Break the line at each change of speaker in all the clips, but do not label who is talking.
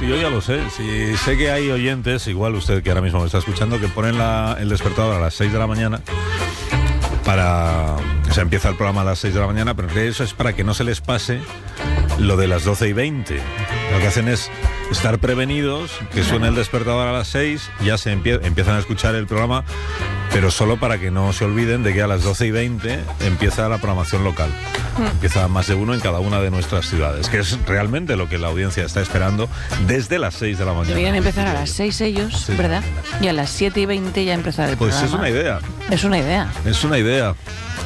yo ya lo sé. Si sé que hay oyentes, igual usted que ahora mismo me está escuchando, que ponen el despertador a las 6 de la mañana o sea, empieza el programa a las 6 de la mañana, pero en realidad eso es para que no se les pase lo de las 12:20. Lo que hacen es estar prevenidos, que suene el despertador a las 6, ya se empiezan a escuchar el programa, pero solo para que no se olviden de que a las 12:20 empieza la programación local. Empieza más de uno en cada una de nuestras ciudades, que es realmente lo que la audiencia está esperando desde las 6 de la mañana.
Deberían empezar a las 6 ellos, sí, ¿verdad? Y a las 7:20 ya empezar el programa.
Pues es una idea.
Es una idea.
Es una idea.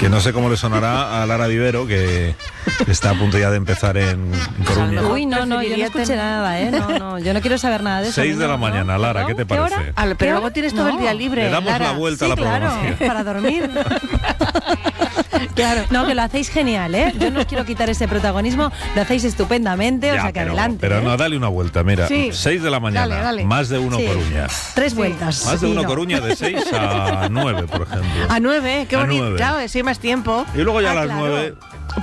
Que no sé cómo le sonará a Lara Vivero, que está a punto ya de empezar en Coruña.
Uy, no, yo no escuché nada, No, yo no quiero saber nada de eso.
6 de la mañana, Lara, ¿qué te parece?
Pero luego tienes todo el día libre,
Le damos
Lara.
la vuelta a la programación.
Claro, para dormir. Claro. No, que lo hacéis genial, Yo no os quiero quitar ese protagonismo, lo hacéis estupendamente, o sea que adelante.
Pero no, dale una vuelta, mira.
Sí.
6 de la mañana,
dale.
más de uno Coruña.
3 vueltas.
Más de uno Coruña, de 6 a 9, por ejemplo.
A 9, qué
A
bonito.
9.
Claro, si hay más tiempo.
Y luego ya a las 9...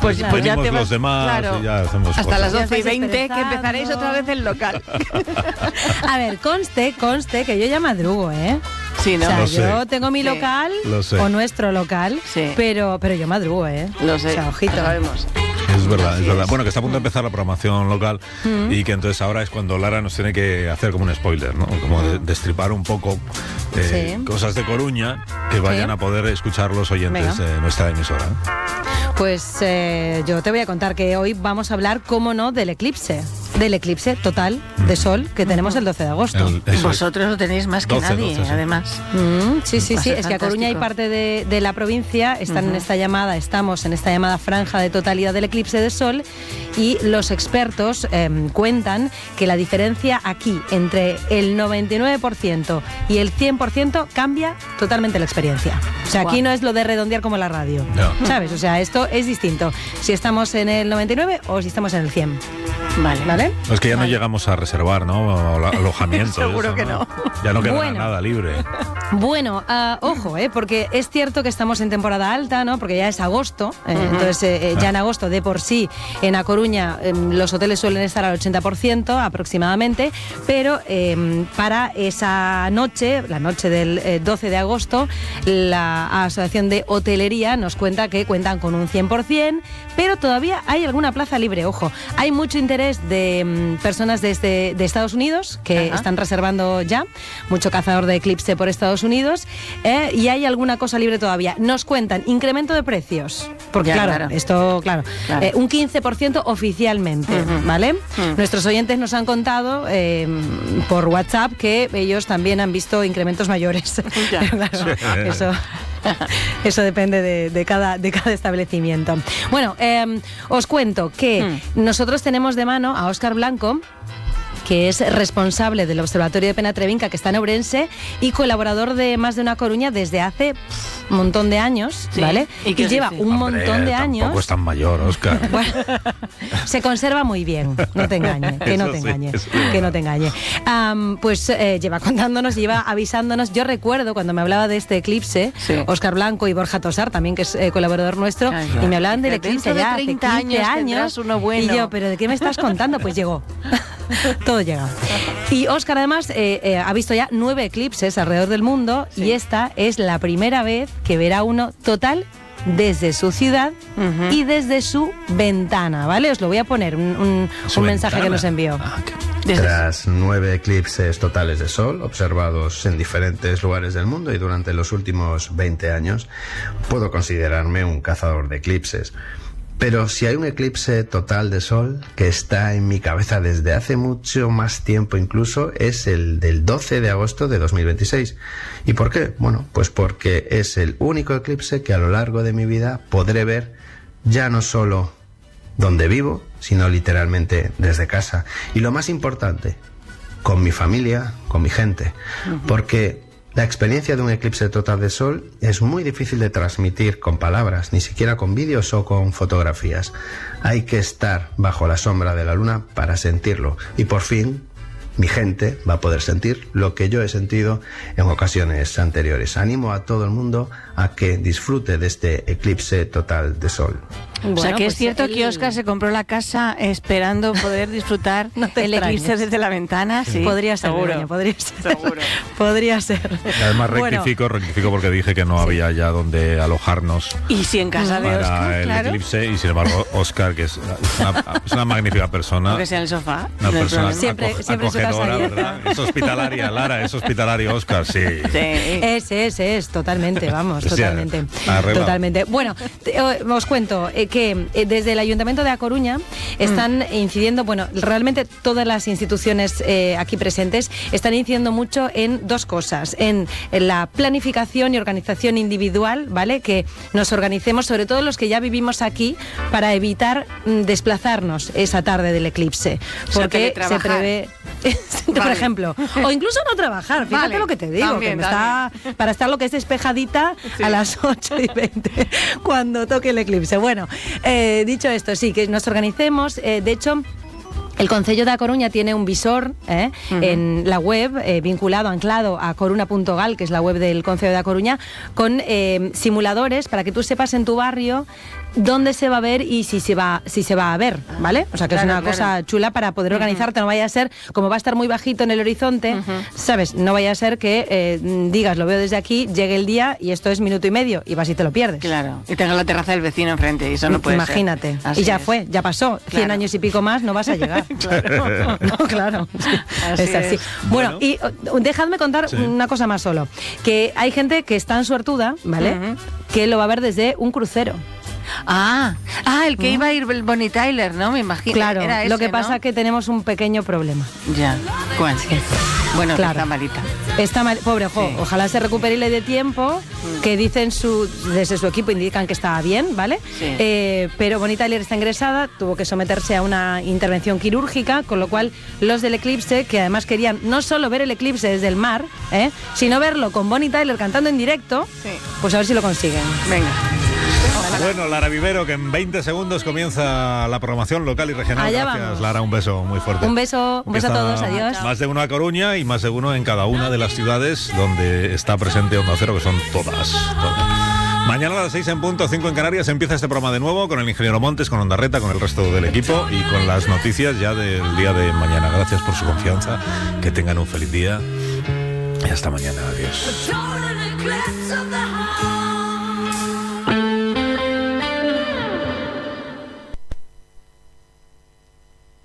Pues ya te vas,
los demás y ya hacemos
hasta
cosas.
las 12:20 que empezaréis otra vez el local.
A ver, conste que yo ya madrugo,
Sí, ¿no?
O sea, yo tengo mi local o nuestro local,
sí,
pero yo madrugo,
Lo sé,
o sea, ojito.
lo sabemos.
Es verdad, es verdad. Bueno, que está a punto de empezar la programación local y que entonces ahora es cuando Lara nos tiene que hacer como un spoiler, ¿no? Como destripar un poco cosas de Coruña que vayan a poder escuchar los oyentes de nuestra emisora.
Pues yo te voy a contar que hoy vamos a hablar, cómo no, del eclipse total de sol que tenemos el 12 de agosto.
Vosotros lo tenéis más que nadie, además.
Sí, es que a Coruña y parte de la provincia estamos en esta llamada franja de totalidad del eclipse de sol, y los expertos cuentan que la diferencia aquí entre el 99% y el 100% cambia totalmente la experiencia. O sea, aquí no es lo de redondear como la radio, ¿sabes? O sea, esto es distinto si estamos en el 99 o si estamos en el 100. ¿Vale?
Es que ya no llegamos a reservar, ¿no? Alojamiento.
Seguro que no.
Ya no queda nada libre.
Bueno, ojo, porque es cierto que estamos en temporada alta, ¿no? Porque ya es agosto, entonces ya en agosto de por sí en A Coruña los hoteles suelen estar al 80% aproximadamente, pero para esa noche, la noche del 12 de agosto, la Asociación de Hotelería nos cuenta que cuentan con un 100%, pero todavía hay alguna plaza libre, ojo. Hay mucho interés de personas de Estados Unidos que están reservando ya, mucho cazador de eclipse por Estados Unidos, y hay alguna cosa libre todavía. Nos cuentan incremento de precios, porque esto, un 15% oficialmente, ¿vale? Nuestros oyentes nos han contado por WhatsApp que ellos también han visto incrementos mayores. Eso depende de cada establecimiento. Bueno, os cuento que nosotros tenemos de mano a Óscar Blanco, que es responsable del Observatorio de Penatrevinca, que está en Ourense, y colaborador de Más de una Coruña desde hace un montón de años, ¿vale? Y lleva un montón de años.
Tampoco es tan mayor, Óscar.
Bueno, se conserva muy bien, no te engañe, que no te engañe, que no te engañe. Pues lleva contándonos, lleva avisándonos. Yo recuerdo cuando me hablaba de este eclipse, Óscar Blanco y Borja Tosar, también que es colaborador nuestro, y me hablaban del eclipse ya hace 15 años,
uno bueno.
Y yo, ¿pero de qué me estás contando? Pues llegó. Todo llega. Y Óscar además ha visto ya 9 eclipses alrededor del mundo, y esta es la primera vez que verá uno total desde su ciudad y desde su ventana, ¿vale? Os lo voy a poner, un mensaje que nos envió.
Tras 9 eclipses totales de sol observados en diferentes lugares del mundo y durante los últimos 20 años, puedo considerarme un cazador de eclipses. Pero si hay un eclipse total de sol que está en mi cabeza desde hace mucho más tiempo incluso, es el del 12 de agosto de 2026. ¿Y por qué? Bueno, pues porque es el único eclipse que a lo largo de mi vida podré ver, ya no solo donde vivo, sino literalmente desde casa. Y lo más importante, con mi familia, con mi gente. Porque la experiencia de un eclipse total de sol es muy difícil de transmitir con palabras, ni siquiera con vídeos o con fotografías. Hay que estar bajo la sombra de la luna para sentirlo. Y por fin, mi gente va a poder sentir lo que yo he sentido en ocasiones anteriores. Animo a todo el mundo a que disfrute de este eclipse total de sol.
Bueno, o sea que
pues
es cierto que Óscar se compró la casa esperando poder disfrutar el eclipse desde la ventana. Sí,
podría ser,
seguro.
Podría ser.
Seguro.
Podría ser.
Además rectifico porque dije que no había ya donde alojarnos.
Y si en casa de Óscar,
para el eclipse, y sin embargo Óscar, que es una magnífica persona.
Aunque sea en el sofá.
Una persona
siempre
acogedora, ¿verdad? Es hospitalaria, Lara, es hospitalario Óscar, sí.
Es, totalmente, vamos,
O sea,
totalmente.
arreglado.
Totalmente. Bueno, os cuento que desde el Ayuntamiento de A Coruña están incidiendo, bueno, realmente todas las instituciones aquí presentes están incidiendo mucho en dos cosas, en la planificación y organización individual, ¿vale? Que nos organicemos, sobre todo los que ya vivimos aquí, para evitar desplazarnos esa tarde del eclipse, porque se prevé, por ejemplo, o incluso no trabajar, fíjate lo que te digo,
también,
que para estar lo que es despejadita a las 8:20 cuando toque el eclipse. Bueno, dicho esto, sí, que nos organicemos. De hecho, el Concello de A Coruña tiene un visor en la web anclado a coruna.gal, que es la web del Concello de A Coruña, con simuladores para que tú sepas en tu barrio dónde se va a ver y si se va a ver, ¿vale? O sea que es una cosa chula para poder organizarte. No vaya a ser, como va a estar muy bajito en el horizonte, ¿sabes? No vaya a ser que digas, lo veo desde aquí, llegue el día y esto es minuto y medio y vas y te lo pierdes.
Claro, y tengas la terraza del vecino enfrente y eso no puede
Imagínate.
ser. Imagínate. Y
ya fue, ya pasó. 100 años y pico más no vas a llegar.
Claro.
No, claro.
Así
es así.
es.
Bueno, y dejadme contar una cosa más solo. Que hay gente que es tan suertuda, ¿vale? Que lo va a ver desde un crucero.
El que iba a ir el Bonnie Tyler, ¿no? Me imagino.
Claro,
era ese,
lo que pasa
¿no?
es que tenemos un pequeño problema.
Ya. ¿Cuál? Bueno,
Claro.
está malita.
Está mal, pobre,
Sí.
ojalá se recupere y le dé tiempo, que dicen desde su equipo indican que está bien, ¿vale?
Sí.
Pero Bonnie Tyler está ingresada, tuvo que someterse a una intervención quirúrgica, con lo cual los del eclipse, que además querían no solo ver el eclipse desde el mar, sino verlo con Bonnie Tyler cantando en directo, pues a ver si lo consiguen.
Venga.
Bueno, Lara Vivero, que en 20 segundos comienza la programación local y regional.
Allá
Gracias,
vamos.
Lara, un beso muy fuerte.
Un beso a todos, adiós.
Más de uno a Coruña y más de uno en cada una de las ciudades donde está presente Onda Cero, que son todas. Mañana a las 6 en punto, 5 en Canarias, empieza este programa de nuevo con el ingeniero Montes, con Onda Reta, con el resto del equipo y con las noticias ya del día de mañana. Gracias por su confianza, que tengan un feliz día y hasta mañana. Adiós.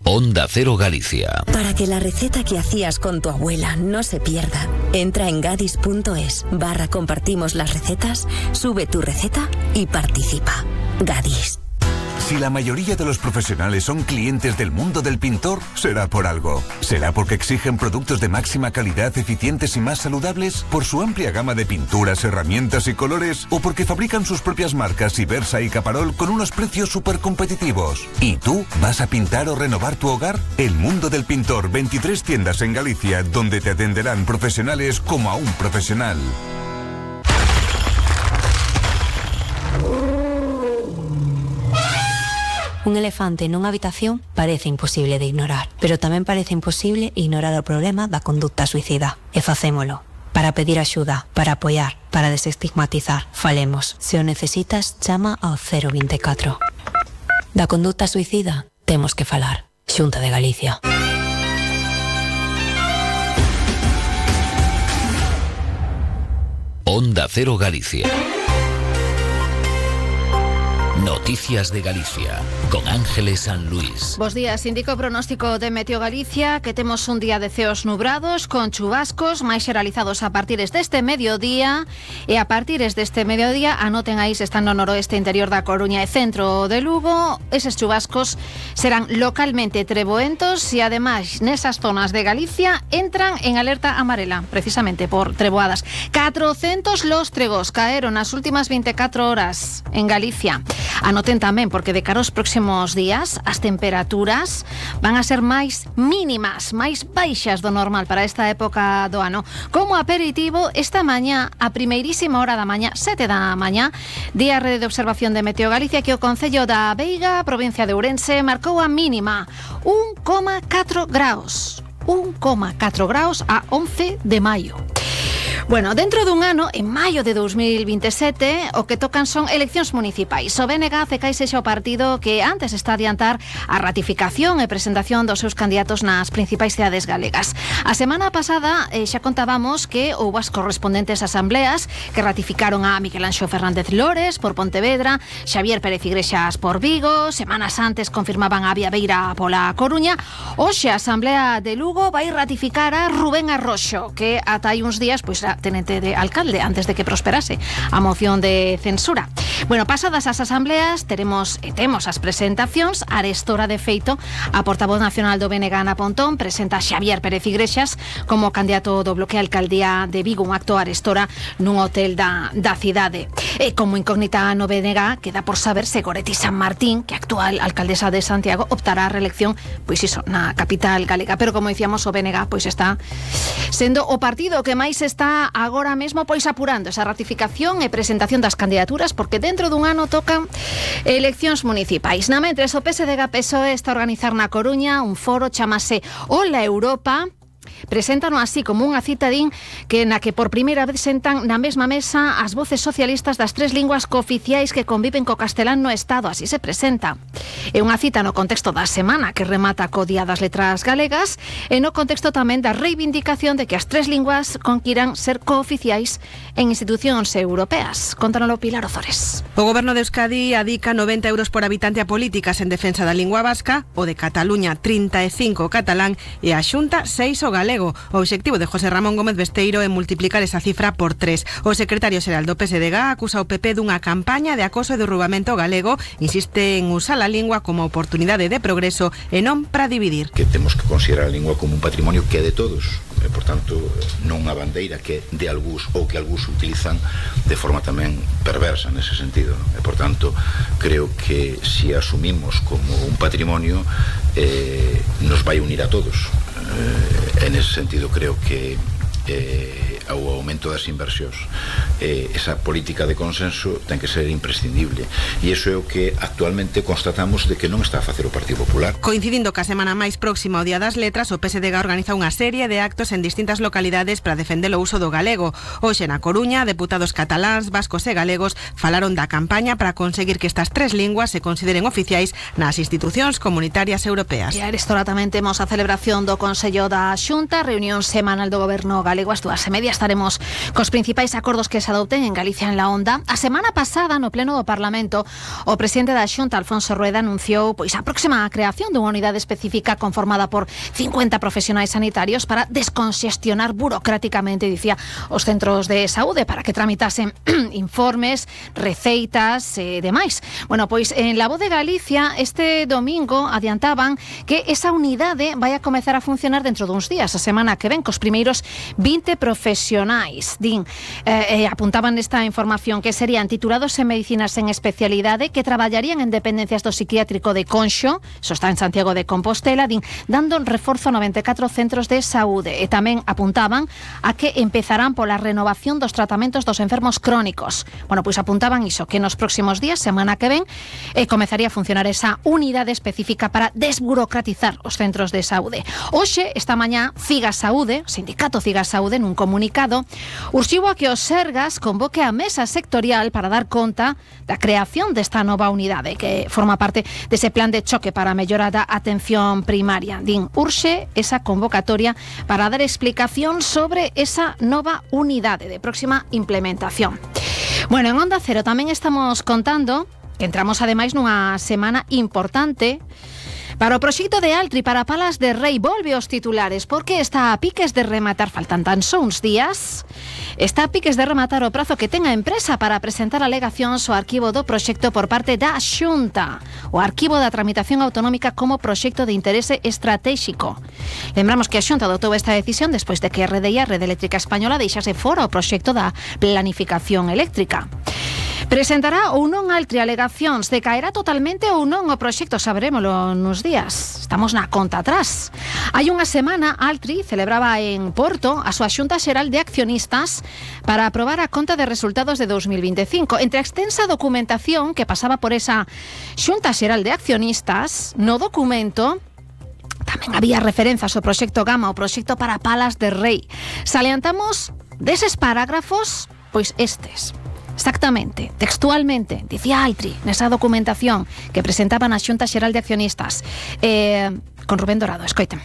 Onda Cero Galicia.
Para que la receta que hacías con tu abuela no se pierda, entra en gadis.es/compartimos las recetas, sube tu receta y participa. Gadis.
Si la mayoría de los profesionales son clientes del mundo del pintor, será por algo. ¿Será porque exigen productos de máxima calidad, eficientes y más saludables? ¿Por su amplia gama de pinturas, herramientas y colores? ¿O porque fabrican sus propias marcas Ibersa y Caparol con unos precios súper competitivos? ¿Y tú vas a pintar o renovar tu hogar? El mundo del pintor, 23 tiendas en Galicia, donde te atenderán profesionales como a un profesional.
Un elefante nunha habitación parece imposible de ignorar, pero tamén parece imposible ignorar o problema da conducta suicida. E facémolo. Para pedir axuda, para apoiar, para desestigmatizar. Falemos. Se o necesitas, chama ao 024. Da conduta suicida, temos que falar. Xunta de Galicia.
Onda Cero Galicia. Noticias de Galicia, con Ángeles San Luis.
Bos días, indica o pronóstico de Meteo Galicia que temos un día de ceos nubrados con chubascos máis xeralizados a partires deste mediodía e a partires deste mediodía, anoten aí se están no noroeste interior da Coruña e centro de Lugo, eses chubascos serán localmente treboentos e ademais nesas zonas de Galicia entran en alerta amarela, precisamente por treboadas. 400 lóstregos caeron nas últimas 24 horas en Galicia. Anoten tamén, porque de cara aos próximos días as temperaturas van a ser máis mínimas, máis baixas do normal para esta época do ano. Como aperitivo, esta mañá, a primeirísima hora da mañá, 7 da mañá, día rede de observación de Meteo Galicia, que o Concello da Veiga, provincia de Ourense, marcou a mínima 1,4 graus. 1,4 graus a 11 de maio. Bueno, dentro dun ano, en maio de 2027, o que tocan son eleccións municipais. O BNG CECAI sexa o partido que antes está a adiantar a ratificación e presentación dos seus candidatos nas principais cidades galegas. A semana pasada xa contábamos que houve as correspondentes asambleas que ratificaron a Miguel Anxo Fernández Lores por Pontevedra, Xavier Pérez Igrexas por Vigo, semanas antes confirmaban a Viabeira pola Coruña. Hoxe a Asamblea de Lugo vai ratificar a Rubén Arroxo, que ata hai uns días pois era tenente de alcalde antes de que prosperase a moción de censura. Bueno, pasadas as asambleas temos as presentacións. Arestora, de feito, a portavoz nacional do BNG, Ana Pontón, presenta a Xavier Pérez Igrexas como candidato do bloque a alcaldía de Vigo, un acto arestora nun hotel da cidade. E como incógnita no BNG queda por saber se Goretti San Martín, que actual alcaldesa de Santiago, optará a reelección pois iso, na capital galega. Pero como dicíamos, o BNG pois está sendo o partido que máis está agora mesmo pois apurando esa ratificación e presentación das candidaturas, porque dentro dun ano tocan eleccións municipais. Na mentres, o PSDG-PSOE está a organizar na Coruña un foro, chamase Hola Europa. Preséntano así como unha cita, din, que na que por primeira vez sentan na mesma mesa as voces socialistas das 3 linguas cooficiais que conviven co castelán no Estado. Así se presenta. É unha cita no contexto da semana que remata co Día das Letras Galegas e no contexto tamén da reivindicación de que as 3 linguas conquiran ser cooficiais en institucións europeas. Contanolo Pilar Ozores.
O Goberno de Euskadi adica 90 euros por habitante a políticas en defensa da lingua vasca, o de Cataluña 35 o catalán e a Xunta 6 o galego. O obxectivo de José Ramón Gómez Besteiro é multiplicar esa cifra por 3. O secretario xeral do PSDG acusa o PP dunha campaña de acoso e derrubamento galego, insiste en usar a lingua como oportunidade de progreso e non para dividir.
Que temos que considerar a lingua como un patrimonio que é de todos, e, por tanto, non unha bandeira que é de algúns ou que algúns utilizan de forma tamén perversa nese sentido. E, por tanto, creo que se asumimos como un patrimonio nos vai unir a todos. En ese sentido creo que ao aumento das inversións esa política de consenso ten que ser imprescindible, e iso é o que actualmente constatamos de que non está a facer o Partido Popular.
Coincidindo ca semana máis próxima ao Día das Letras, o PSDG organiza unha serie de actos en distintas localidades para defender o uso do galego. Hoxe na Coruña, deputados cataláns, vascos e galegos falaron da campaña para conseguir que estas 3 linguas se consideren oficiais nas institucións comunitarias europeas.
E a arestora tamén temos a celebración do Consello da Xunta, reunión semanal do Goberno galego. As 2:30 estaremos cos principais acordos que se adopten en Galicia en la Onda. A semana pasada, no pleno do Parlamento, o presidente da Xunta, Alfonso Rueda, anunciou pois a próxima creación dunha unidade específica conformada por 50 profesionais sanitarios para desconxestionar burocráticamente, dicía, os centros de saúde para que tramitasen informes, receitas e demais. Bueno, pois en La Voz de Galicia este domingo adiantaban que esa unidade vai a comezar a funcionar dentro duns días, a semana que ven, cos primeiros 20 profesionais, din, apuntaban esta información, que serían titulados en medicinas en especialidade, que traballarían en dependencias do psiquiátrico de Conxo, eso está en Santiago de Compostela, din, dando reforzo a 94 centros de saúde, e tamén apuntaban a que empezarán pola renovación dos tratamentos dos enfermos crónicos. Bueno, pois apuntaban iso, que nos próximos días, semana que ven, comezaría a funcionar esa unidade específica para desburocratizar os centros de saúde. Hoxe, esta mañá, Figa Saúde, Sindicato Figa Saúde, nun comunicado, urxiu a que o Sergas convoque a mesa sectorial para dar conta da creación desta nova unidade, que forma parte dese plan de choque para a mellora da atención primaria. Din, urxe esa convocatoria para dar explicación sobre esa nova unidade de próxima implementación. Bueno, en Onda Cero tamén estamos contando que entramos ademais nunha semana importante para o proxecto de Altri para Palas de Rei. Volve aos titulares porque está a piques de rematar, faltan tan só uns días, está a piques de rematar o prazo que ten a empresa para presentar alegacións ao arquivo do proxecto por parte da Xunta, o arquivo da tramitación autonómica como proxecto de interese estratégico. Lembramos que a Xunta adotou esta decisión despois de que a Rede Eléctrica Española deixase fora o proxecto da planificación eléctrica. Presentará ou non Altri alegacións, decaerá totalmente ou non o proxecto, sabrémolo nos días. Estamos na conta atrás. Hai unha semana, Altri celebraba en Porto a súa Xunta Xeral de Accionistas para aprobar a conta de resultados de 2025. Entre a extensa documentación que pasaba por esa Xunta Xeral de Accionistas, no documento tamén había referenzas ao proxecto Gama, o proxecto para Palas de Rei. Salientamos deses parágrafos, pois estes. Exactamente, textualmente, dicía Altri nesa documentación que presentaba na Xunta Xeral de Accionistas. Con Rubén Dorado, escoiten.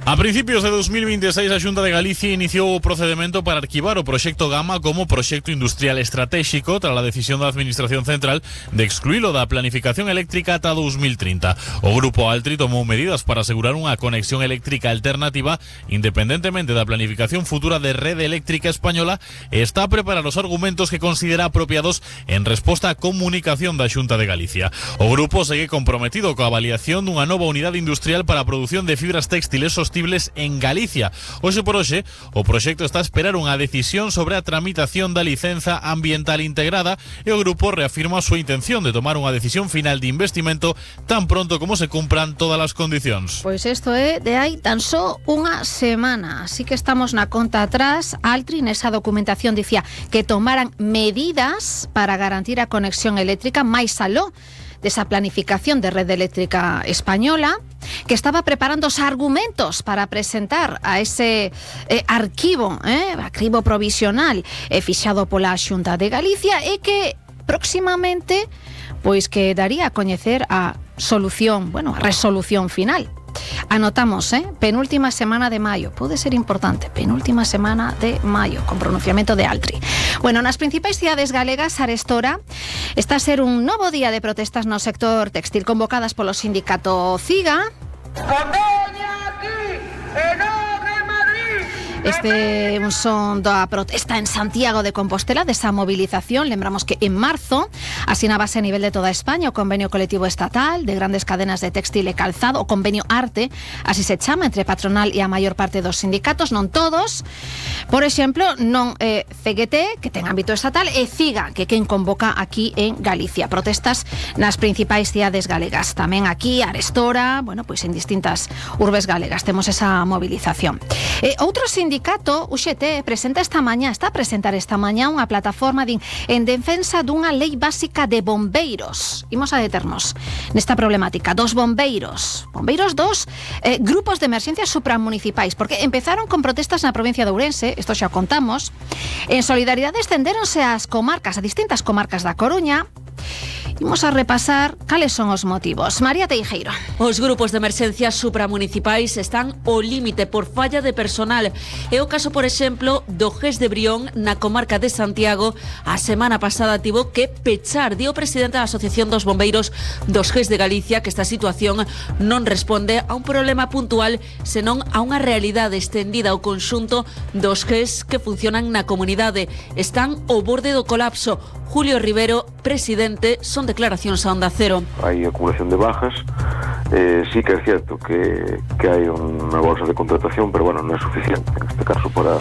A principios de 2026 a Xunta de Galicia iniciou o procedemento para arquivar o proxecto Gama como proxecto industrial estratégico tras a decisión da Administración Central de excluílo da planificación eléctrica ata 2030. O Grupo Altri tomou medidas para asegurar unha conexión eléctrica alternativa independentemente da planificación futura de rede eléctrica española e está a preparar os argumentos que considera apropiados en resposta á comunicación da Xunta de Galicia. O grupo segue comprometido coa avaliación dunha nova unidade industrial para a produción de fibras textiles sostibles en Galicia. Hoxe por hoxe, o proxecto está a esperar unha decisión sobre a tramitación da licenza ambiental integrada e o grupo reafirma a súa intención de tomar unha decisión final de investimento tan pronto como se cumpran todas as condicións.
Pois isto é de hai tan só unha semana, así que estamos na conta atrás. Altri nesa documentación dicía que tomaran medidas para garantir a conexión eléctrica máis aló desa planificación de rede eléctrica española, que estaba preparando os argumentos para presentar a ese arquivo provisional fixado pola Xunta de Galicia e que próximamente pois que daría a coñecer a solución, a resolución final. Anotamos, penúltima semana de maio, pode ser importante, penúltima semana de maio, con pronunciamento de Altri. Bueno, nas principais cidades galegas, arestora, está a ser un novo día de protestas no sector textil convocadas polo sindicato CIGA. Este é un son da protesta en Santiago de Compostela, desa movilización. Lembramos que en marzo asinábase a nivel de toda España o convenio colectivo estatal de grandes cadenas de textil e calzado, o convenio ARTE, así se chama, entre patronal e a maior parte dos sindicatos, non todos. Por exemplo, non CGT, que ten ámbito estatal, e CIGA, que quen convoca aquí en Galicia. Protestas nas principais cidades galegas. Tamén aquí, arestora, pois en distintas urbes galegas temos esa movilización. Outro sindicato, UGT, está a presentar esta mañá unha plataforma en defensa dunha lei básica de bombeiros. Imos a deternos nesta problemática dos bombeiros dos grupos de emerxencias supramunicipais, porque empezaron con protestas na provincia de Ourense, isto xa contamos. En solidaridade estendéronse ás comarcas, a distintas comarcas da Coruña. Imos a repasar cales son os motivos. María Teijeiro.
Os grupos de emerxencias supramunicipais están ao límite por falla de personal. É o caso, por exemplo, do GES de Brión na comarca de Santiago. A semana pasada tivo que pechar, dio o presidente da Asociación dos Bombeiros dos GES de Galicia, que esta situación non responde a un problema puntual, senón a unha realidade estendida ao conxunto dos GES que funcionan na comunidade. Están ao borde do colapso. Julio Rivero, presidente, son declaracións a Onda Cero.
Hai acumulación de bajas, sí que é cierto que hai unha bolsa de contratación, pero non é suficiente en este caso para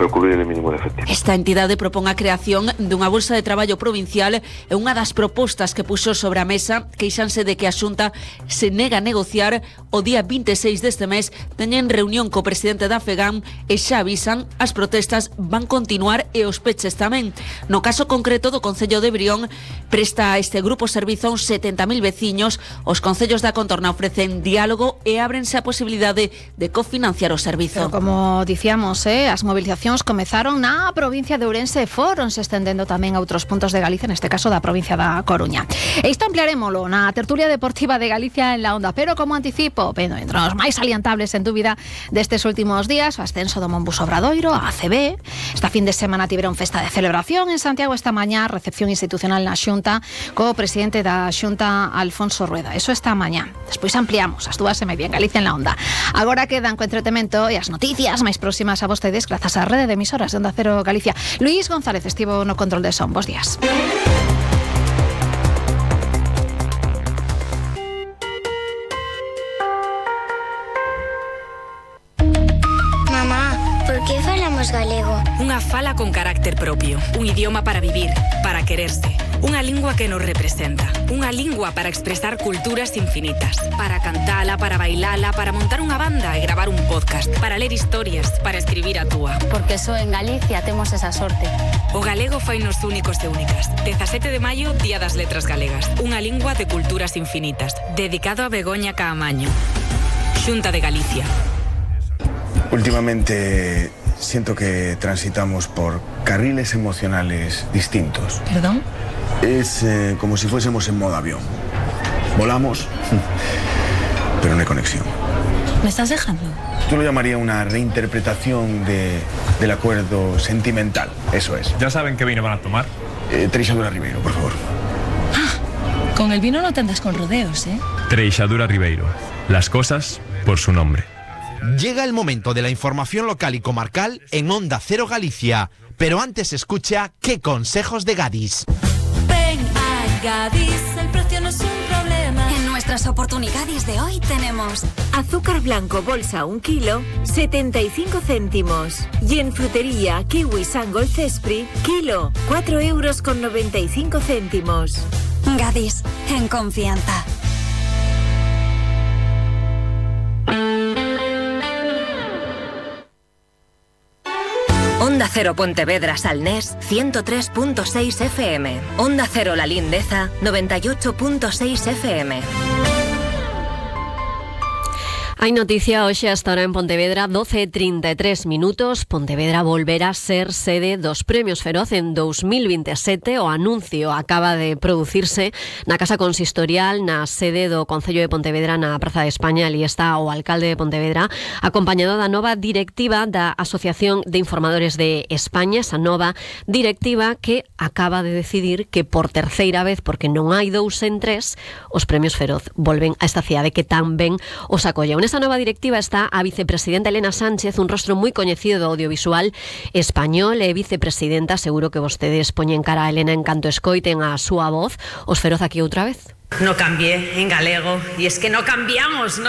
cubrir o mínimo de efectivo.
Esta entidade propón a creación dunha bolsa de traballo provincial e unha das propostas que puxo sobre a mesa queixanse de que a Xunta se nega a negociar. O día 26 deste mes teñen reunión co presidente da FEGAM e xa avisan as protestas van continuar e os peches tamén. No caso concreto do Concello de Brión, presta a este grupo servizo a uns 70.000 veciños. Os concellos da contorna ofrecen diálogo e ábrense a posibilidade de cofinanciar o servizo.
Pero como dicíamos, as movilizacións comezaron na provincia de Ourense e foronse estendendo tamén a outros puntos de Galicia, neste caso da provincia da Coruña. E isto ampliarémolo na tertulia deportiva de Galicia en la Onda, pero como anticipo, entre os máis salientables en dúbida destes últimos días, o ascenso do Monbus Obradoiro a ACB. Esta fin de semana tiveron festa de celebración en Santiago, esta mañá recepción institucional na Xunta co presidente da Xunta, Alfonso Rueda. Eso esta mañá. Despois ampliamos as 2:30 en Galicia en la Onda. Agora quedan co entretemento e as noticias máis próximas a vostedes grazas á rede de emisoras de Onda Cero Galicia. Luís González estivo no control de son. Bos días.
Mamá, por que falamos galego?
Unha fala con carácter propio, un idioma para vivir, para quererse, unha lingua que nos representa, unha lingua para expresar culturas infinitas, para cantala, para bailala, para montar unha banda e gravar un podcast, para ler historias, para escribir a túa.
Porque só en Galicia temos esa sorte.
O galego fainos únicos e únicas. 17 de maio, Día das Letras Galegas, unha lingua de culturas infinitas, dedicado a Begoña Caamaño. Xunta de Galicia.
Últimamente siento que transitamos por carriles emocionales distintos.
¿Perdón?
Es como si fuésemos en modo avión. Volamos, pero no hay conexión.
¿Me estás dejando?
Yo lo llamaría una reinterpretación del acuerdo sentimental. Eso es.
¿Ya saben qué vino van a tomar?
Treixadura Ribeiro, por favor.
Con el vino no te andas con rodeos, ¿eh?
Treixadura Ribeiro. Las cosas por su nombre.
Llega el momento de la información local y comarcal en Onda Cero Galicia. Pero antes escucha qué consejos de Gadis.
Ven a Gadis, el precio no es un problema.
En nuestras oportunidades de hoy tenemos azúcar blanco bolsa 1 kilo, 75 céntimos. Y en frutería kiwi Sangol Cespri, kilo, 4,95 €. Gadis, en confianza. Onda Cero Pontevedra Salnés 103.6 FM. Onda Cero La Lindeza 98.6 FM.
Hai noticia hoxe hasta ahora en Pontevedra, 12:33 minutos. Pontevedra volverá a ser sede dos Premios Feroz en 2027. O anuncio acaba de producirse na Casa Consistorial, na sede do Concello de Pontevedra, na Praza de España. Ali está o alcalde de Pontevedra, acompañado da nova directiva da Asociación de Informadores de España, esa nova directiva que acaba de decidir que por terceira vez, porque non hai 2 en 3, os Premios Feroz volven a esta cidade que tan ben os acolle. Esta nova directiva está a vicepresidenta Elena Sánchez, un rostro moi coñecido do audiovisual español, e vicepresidenta, seguro que vostedes poñen cara a Elena en canto escoiten a súa voz. Os Feroz aquí outra vez.
No cambié en galego, y es que no cambiamos.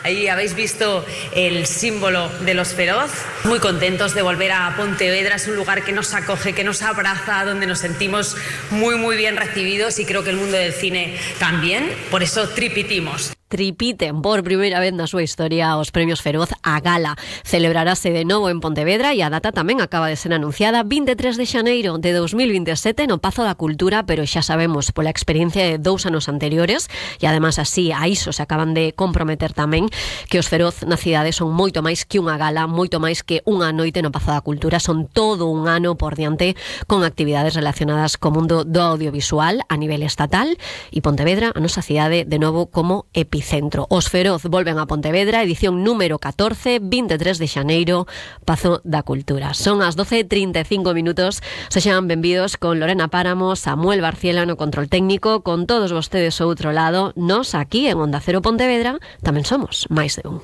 Ahí habéis visto el símbolo de los Feroz. Muy contentos de volver a Pontevedra, es un lugar que nos acoge, que nos abraza, donde nos sentimos muy bien recibidos, y creo que el mundo del cine también, por eso tripitimos.
Tripiten por primeira vez na súa historia os Premios Feroz. A gala celebrarase de novo en Pontevedra e a data tamén acaba de ser anunciada, 23 de xaneiro de 2027 no Pazo da Cultura, pero xa sabemos pola experiencia de 2 anos anteriores, e ademais así a iso se acaban de comprometer tamén, que os Feroz na cidade son moito máis que unha gala, moito máis que unha noite no Pazo da Cultura, son todo un ano por diante con actividades relacionadas co mundo do audiovisual a nivel estatal, e Pontevedra, a nosa cidade, de novo como epicentro. Os Feroz volven a Pontevedra, edición número 14, 23 de xaneiro, Pazo da Cultura. Son as 12:35 minutos. Sexan benvidos con Lorena Páramo, Samuel Barciela no control técnico, con todos vostedes ao outro lado. Nos aquí en Onda Cero Pontevedra tamén somos máis de un.